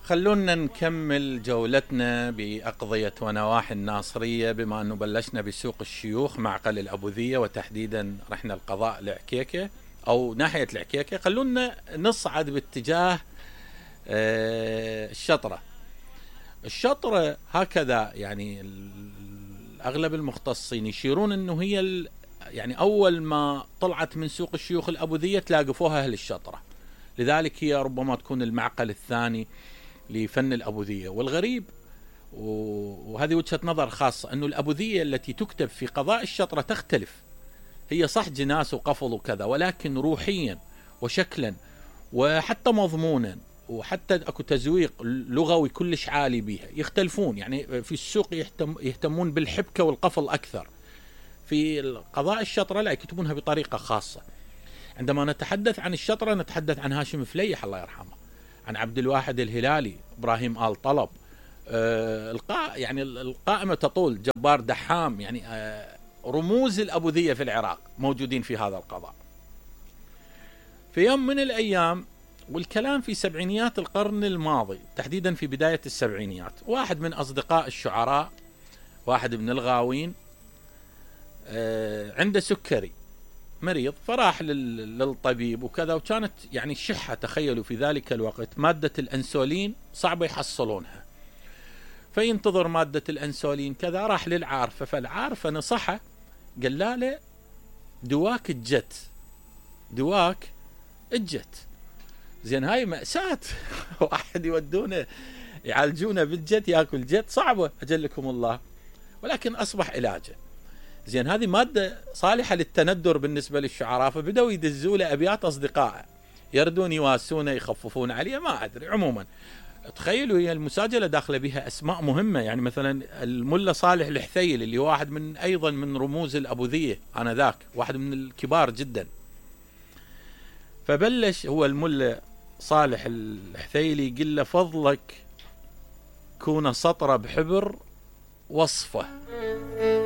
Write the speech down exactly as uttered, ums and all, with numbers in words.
خلونا نكمل جولتنا بأقضية ونواحي الناصرية، بما أنه بلشنا بسوق الشيوخ معقل الأبوذية، وتحديدا رحنا القضاء العكيكة أو ناحية العكيكة. خلونا نصعد باتجاه الشطرة. الشطرة هكذا يعني أغلب المختصين يشيرون أنه هي يعني أول ما طلعت من سوق الشيوخ الأبوذية تلاقفوها أهل الشطرة، لذلك هي ربما تكون المعقل الثاني لفن الأبوذية. والغريب وهذه وجهة نظر خاصة أنه الأبوذية التي تكتب في قضاء الشطرة تختلف. هي صح جناس وقفل وكذا، ولكن روحيا وشكلا وحتى مضمونا وحتى اكو تزويق لغوي كلش عالي بها يختلفون. يعني في السوق يهتم يهتمون بالحبكة والقفل أكثر، في قضاء الشطرة لا، يكتبونها بطريقة خاصة. عندما نتحدث عن الشطرة نتحدث عن هاشم فليح الله يرحمه، عن عبد الواحد الهلالي، إبراهيم آل طلب، آه القاء يعني القائمة تطول، جبار دحام، يعني آه رموز الأبوذية في العراق موجودين في هذا القضاء. في يوم من الأيام، والكلام في سبعينيات القرن الماضي، تحديدا في بداية السبعينيات، واحد من أصدقاء الشعراء، واحد من الغاوين، آه عنده سكري مريض، فراح للطبيب وكذا، وكانت يعني الشحة، تخيلوا في ذلك الوقت مادة الأنسولين صعبة يحصلونها، فينتظر مادة الأنسولين كذا. راح للعارفة، فالعارفة نصحه، قال له دواك الجت، دواك الجت. زين هاي مأساة واحد يودونه يعالجونه بالجت، ياكل جت، صعبة أجلكم الله، ولكن أصبح علاجه. زين هذه مادة صالحة للتندر بالنسبة للشعراء، فبدأوا يدزوا له أبيات أصدقائه يردون يواسونه يخففون عليه، ما أدري. عموما تخيلوا هي المساجلة داخله بها أسماء مهمة، يعني مثلا الملا صالح الحثيل اللي هو واحد من أيضا من رموز الأبوذية آنذاك، واحد من الكبار جدا. فبلش هو الملا صالح الحثيلي يقول له فضلك كون سطرة بحبر وصفه.